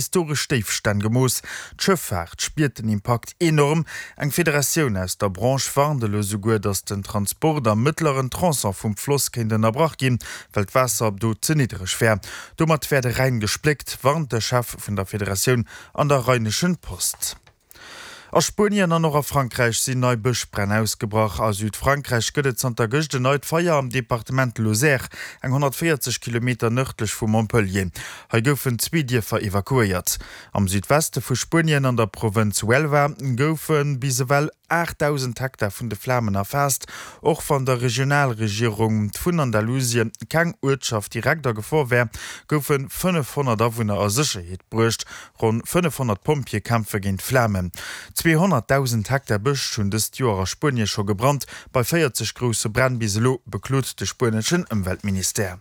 Historesch Déifstänn gemooss. D'Schëffaart spiert den Impakt enorm. Eng Federatioun aus der Branche warnt elo souguer, datt den Transport am mëttleren Tronçon vum Floss kéint ënnerbrach ginn, well d'Waasser do ze niddereg wär. Domat wär de Rhäin gespléckt, warnt de Chef vun der Federatioun an der Rheinischen Post. A Spuenien an och a Frankräich sinn nei Bëschbränn ausgebrach. A Südfrankräich gëtt et zanter gëscht en neit Feier am Departement Lozère, eng 140 Kilometer nërdlech vu Montpellier. Hei goufen zwee Dierfer evakuéiert. Am Südweste vu Spuenien, an der Provënz Huelva, goufe bis ewell 8.000 Hektar vun de Flamen erfaasst. Och wann der Regionalregierung vun Andalusien keng Uertschaft direkt a Gefor wär, goufe 500 Awunner a Sécherheet bruecht. Ronn 500 Pompjeeë kämpfe géint d'Flamen. 200.000 Hektar Bësch hunn dëst Joer a Spuenie scho gebrannt, bei 40 grousse Bränn bis elo, beklot de spueneschen Ëmweltministère.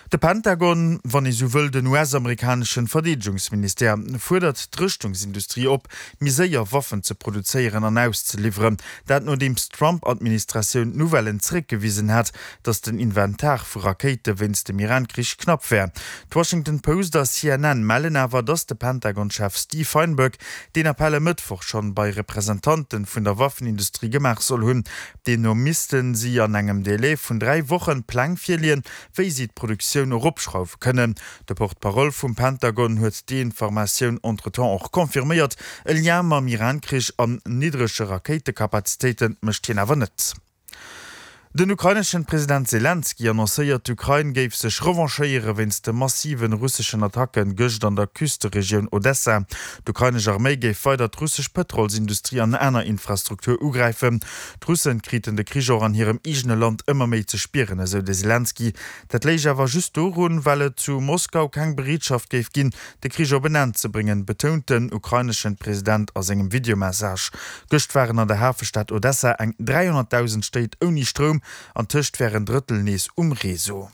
De Pentagon, wann ee sou wëll den US-amerikaneschen Verdeedegungsministère, fuerdert d'Rëschtungsindustrie op, méi séier Waffen ze produzéieren an auszeliwweren. Dat nodeems d'Trump-Administratioun d'Nouvellen zeréckgewisen hat, datt den Inventar vu Rakéite wéinst dem Iran-Krich knapp wär. D'Washington Post a CNN mellen awer, datt de Pentagon-Chef Steve Feinberg deen Appell e Mëttwoch schonn bei Representanten vun der Waffenindustrie gemaach soll hunn. Deemno misste si an engem Delai vun 3 Wochen Pläng virleeën, wéi si d'Produktioun eropschrauwe kënnen. De Porte-parole vum Pentagon huet déi Informatioun entretemps och confirméiert. E Lien mam Iran-Krich an niddrege Rakéitekapazitéite mécht hien awer net. Den ukraineschen President Selenskyj annoncéiert, d'Ukrain géif sech revanchéiere wéinst de massiven russeschen Attacken gëscht an der Küsteregioun Odessa. D'ukrainesch Arméi géif weider d'russesch Pëtrolsindustrie an aner Infrastruktur ugräifen. D'Russen kriten de Krich och an hirem eegene Land ëmmer méi ze spieren, esou de Selenskyj. Dat léich awer just dorun, well et zu Moskau keng Bereetschaft géif ginn, de Krich op en Enn ze bréngen, betount den ukraineschen President a sengem Videomessage. Gëscht waren an der Hafestad Odessa eng 300.000 Stéit ouni Stroum, an tëscht wär en Drëttel nees um Réseau.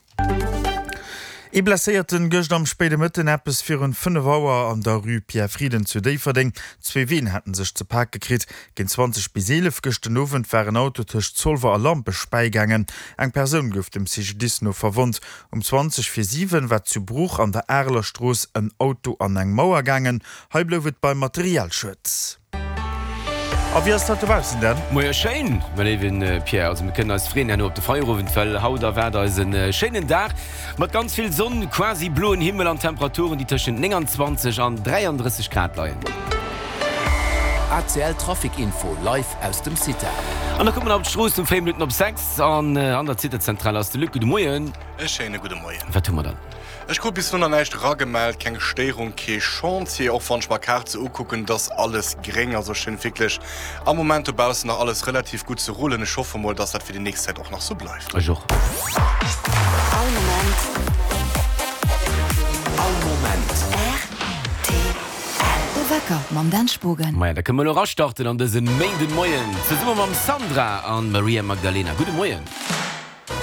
Ee Blesséierten gëscht am spéide Mëtten eppes virun 5 Auer an der Rue Pierre Frieden zu Déifferdeng. Zwee Ween haten sech ze pake kritt. Géint 20 bis 11 gëscht den Owend war en Auto tëscht Zolwer a Lampech bäigaangen. Eng Persoun gouf dem CGDIS no verwonnt. Um 20 vir 7 war zu Bruch an der Areler Strooss en Auto an eng Mauer gaangen. Hei blouf et beim Materialschued. A wéi ass dat dobaussen denn? Moie schéin, mäi léiwen Pierre. Also mir kënnen eis freeën herno op de Feierowend, well haut erwaart eis en schéinen Dag mat ganz vill Sonn, quasi bloen Himmel an Temperaturen, déi tëschent 29 an 33 Grad leien. ACL Trafic Info live aus dem CITA. An da kucke mer nach op d'Strooss um 4 Minutten op 6. An an der Zitezentral ass de Luc. Gudde Moien. E schéine gudde Moien. Wat hu mer dann? Ech krut bis elo nach näischt eragemellt, keng Stéierung, kee Chantier. Och wann ech mer Kaart sou ukucken, et ass alles gréng. Also schéngt wierklech am Moment dobaussen nach alles relativ gutt ze rullen. Ech hoffe mol, dass dat fir déi nächst Zäit och nach sou bleift. Ech och. All Moment. All Moment. Rtl. De Wecker mam Dan Spogen. Maja, da kënne mer elo erastarten an dëse Méindenmoien zesumme mam Sandra an Maria Magdalena. Gudde Moien.